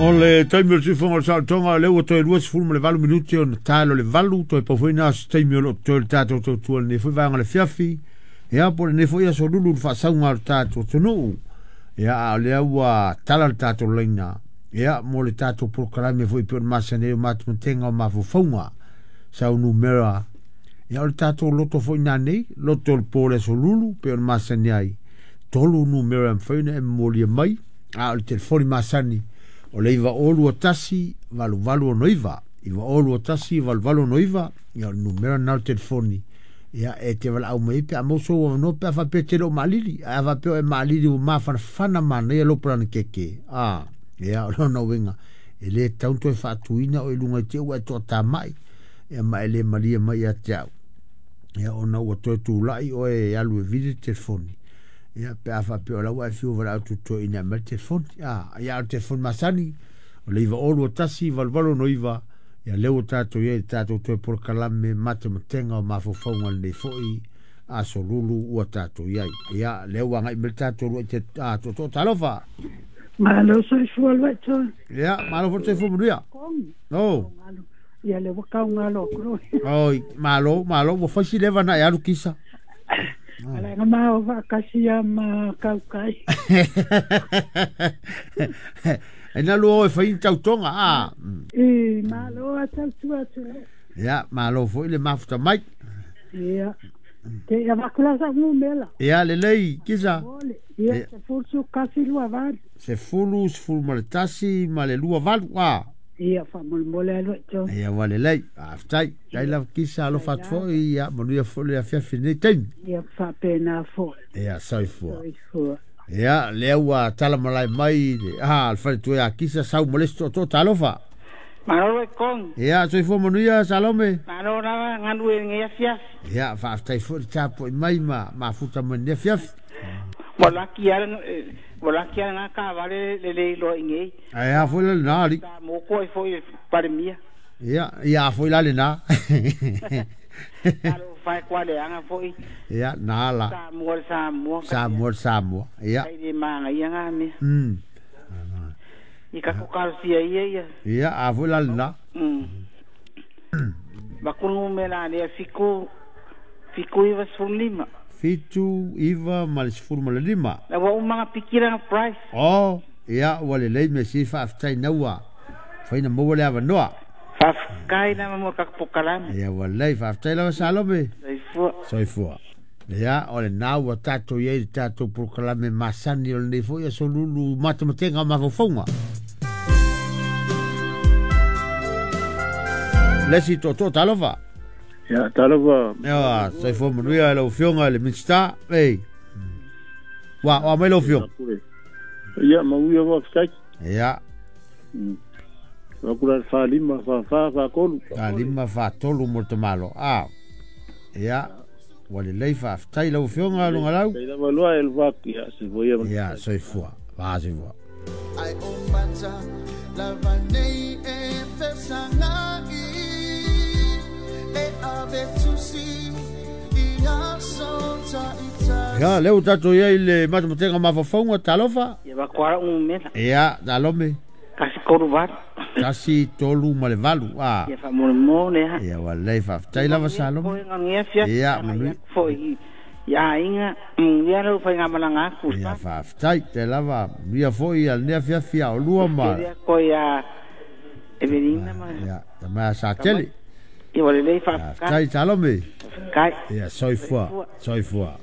O le taimi o le tuifoga o le saolotoga o lea ua toe 28 minute ona talo le 8 toe pau foi na se taimi o lo o totoe le tatou tautua lenei foi vaega o le afiafi. Ia po o lenei foi aso lulu le faasauga o le tatou atunuu. Ia a o lea ua tala le tatou laina. Ia mo le tatou polokalame foi pei ona masani ai o matematega o mafaufauga sau numera. Ia o le tatou loto foi nanei, loto o le po o le aso lulu pei ona masani ai. 3 numera e mafai ona e momolia mai, a o le telefoni masani o le 9O21 8869, 9O21 8869, ia o le numera na o le telefoni. Ia e te valaau mai pe a maua sou avanoa pe a faapea te le o maalili, ae a faapea o e maalili ua mafanafana manaia lou palanakeke. A, ia o lona uiga, e le tatau ona toe faatuina o i luga i te ua e toatamai, ia ma e le malie mai ia te au. Ia ona ua toe tulai oe e alu e vili le telefoni. Ia pe a faapea o la ua e fiu valaau tutoe ina mai le telefoni. A, ia o le telefoni masani, o le 9O21 8869, ia lea ua tatou iai le tatou toe polokalame matematega o mafaufauga lenei foi aso lulu ua tatou iai. Ia lea ua agai mai le tatou lua i te tootoo talofa. Malo soifua lua toe. Ia, malo foi soifua manuia. No. Ia le ua kaugalo atu loe. Oi, malo, malo, ua fai si leva na e alu kisa. Ala nga ma o faakasi ia ma kaukai. E na lua oe fai tautoga, a. I, malo a tautua atu le. Ia, malo foi le mafuta mai. Ia. Te ia vakula sa ngumela. Ia, lelei, kisa. Ia, se fulu kasi lua valu. Se fulu, sefulu ma le tasi, ma le lua valu, a. Ia, faamolemole alu e tau. Ia, ua lelei, faafetai. Tai lava kisa alofa atu foi, ia, manuia foi le afiafi lenei taimi. Ia, faapena foi. Ia, soifua. Soifua. Ia, lea ua tala malae mai le faletua ia Kisa sau ma le isi tootoo talofa. Malo e kong. Ia, soifua manuia Salome. Malo lava galu e lenei afiafi. Ia, faafetai foi le tapuai mai ma mafuta mai lenei afiafi. Ua laki lava lena taavale le le iloa i nei. Ae a foi la lena alii. Sa moko ai foi le Palemia. Ia, ia a foi la lena. Talofa e kualeaga foi. Ia, na la. Samoa le Samoa. Samoa le Samoa. Ia. Kai le manaia ngā mea. I kako kalosia ia ia. Ia, a foi la lena. Bakunu me la lea fiku 95. 7 9 ma le 15. La ua umanga pikira nga price. Oh, ia, ua lelei me si faafetai naua. Faina maua le avanoa. Faafetai lava mo ka pokalame. Ia, ua lelei, faafetai lava Salome. Soifua. Soifua. Ia, o le na ua tatou iai le tatou polokalame masani o lenei foi aso lulu matematega o mafaufauga. Le isi tootoo talofa. Ia, talofa. Ia, soifua manuia lau afioga i le Minisita. Ei. Ua, oa mai lau afioga. Ia, manuia faafetai. Ia. Wakula 45 44 43. 45 43 mo le tamalo. A. Ia. Ua lelei faafetai lau afioga Lugalau. Tai lava loa e le vaki, ia, soifua ia. Ia, soifua. Soifua. Ai o mata lava nei e fesangai e ave tusi i aso ta ita. Ia, lea ua tatou iai le matematega mafaufauga talofa. Ia, vakuara umela. Ia, talome. 1 3 8. 1 3 ma le 8. A. Ia, faamolemole ha. Ia, ua lelei faafetai lava Salome. Ia, manuia. Foi ia inga, ia lau fai ngamalanga aku. Ia, faafetai te lava, manuia foi ia lenei afiafi a o lua ma. Ia, ko ia Evelina ma. Ia, tama sa tele. Ia, ua lelei faafetai. Faafetai Salome. Kai. Ia, soifua. Soifua.